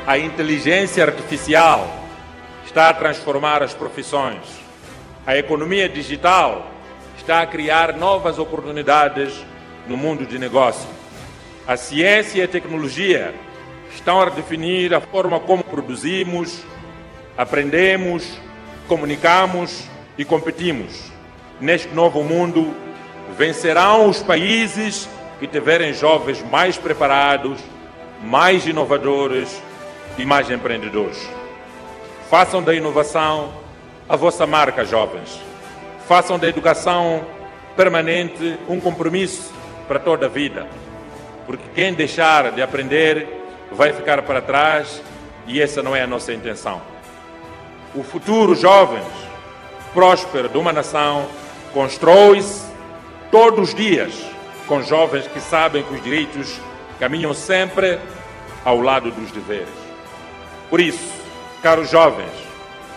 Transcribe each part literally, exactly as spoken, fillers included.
A inteligência artificial está a transformar as profissões. A economia digital está a criar novas oportunidades no mundo de negócio. A ciência e a tecnologia estão a redefinir a forma como produzimos, aprendemos, comunicamos e competimos. Neste novo mundo, vencerão os países que tiverem jovens mais preparados, mais inovadores e mais empreendedores. Façam da inovação a vossa marca, jovens. Façam da educação permanente um compromisso para toda a vida, porque quem deixar de aprender vai ficar para trás e essa não é a nossa intenção. O futuro, jovens, próspero de uma nação constrói-se todos os dias com jovens que sabem que os direitos caminham sempre ao lado dos deveres. Por isso, caros jovens,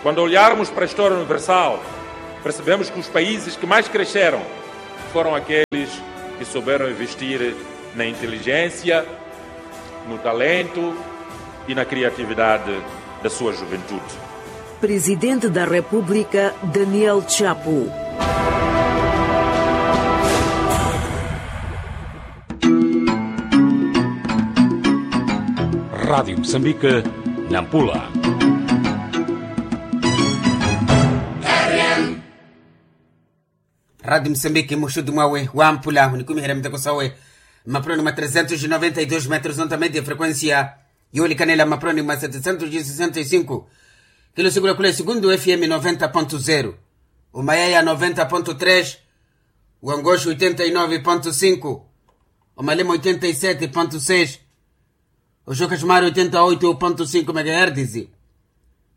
quando olharmos para a história universal, percebemos que os países que mais cresceram foram aqueles que souberam investir na inteligência, no talento e na criatividade da sua juventude. Presidente da República, Daniel Chapo. Rádio Moçambique, Nampula. Rádio Moçambique, muxuti mwawe wamphula onikumiherya miteko sawe. Mmaproni mwa trezentos e noventa e dos metros onta media frequencia, yoolikanela mmaproni mwa setecentos e sessenta e cinco. Kilo sikula khula esukuntu fm noventa ponto zero, omayaya noventa ponto tres, wangoxo oitenta e nove ponto cinco, omalemo oitenta e sete ponto seis, oxoka xumari oitenta e oito ponto cinco megahertis.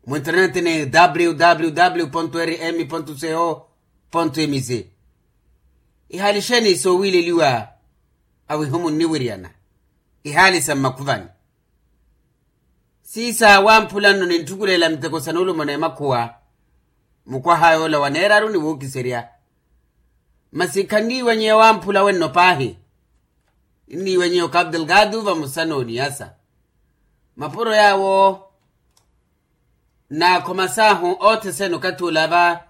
Mu internet ni www rm co mz. Ihaali xeeni soowiileliwa awihumu nniwiryana? Ihaali sa mmakhuvani. Siisa wamphula nno ninttukulela miteko sa nuulumo n'emakhuwa. Mukwaha yoola waneeraru ni wuukiserya. Masi khanniiwanyiya wamphula wenno paahi. Nniiwanyiya okapu delgado vamosa n'oniyasa. Mapuro yaawo naakhomasaahu othesene okathi ola va.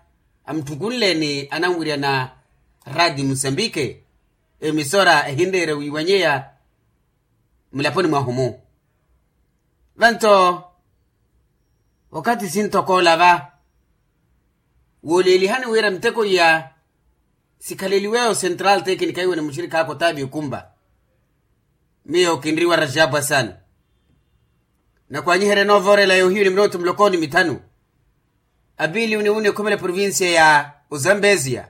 Amuttukunle ni ananwiryana radio musambike, emisora ehinreera wiiwanyeya mulaponi mwahu-mu. Vanto okathi sintokoola va wooleelihani wira miteko iya sikhaleliweyo central tecnica iwe ni muxirikhaaka otaavi okumba. Miyo kinriwa rajabu asani. Nakwanyiherya noovoorela yoohiyu ni minootu muloko ni mithanu. Apiili uni uni ekhumela provincia ya ozambezia.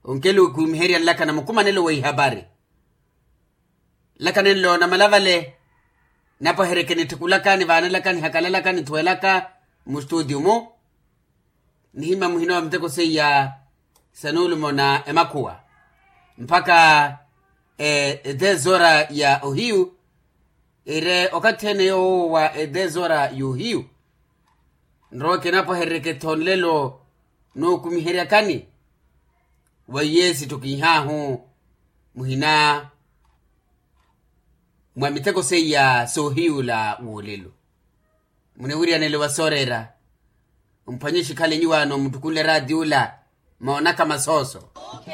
Onkelo okumiherya nlakana mukumanelo wa ihapari. Nlakana nlo namalavale. Napwaheryeke nittikulaka nivaanelaka nihakalalaka nithuwelaka mustutiyu-mu. Nihima muhina wa miteko seiya sa nuulumo na emakhuwa mpakha etesora ya ohiyu. Ire okathi ene yoowo wa etesora y'ohiyu. Nrowe kinapwaheryeke-tho nlelo nookumiheryakani. Weiye sittukinhaahu muhina mwa miteko seiya soohiyula woolelo. Muniwiryanele wa sooreera. Mphwanye xikhale nyuwaano muttukunle raati ula moonaka masooso.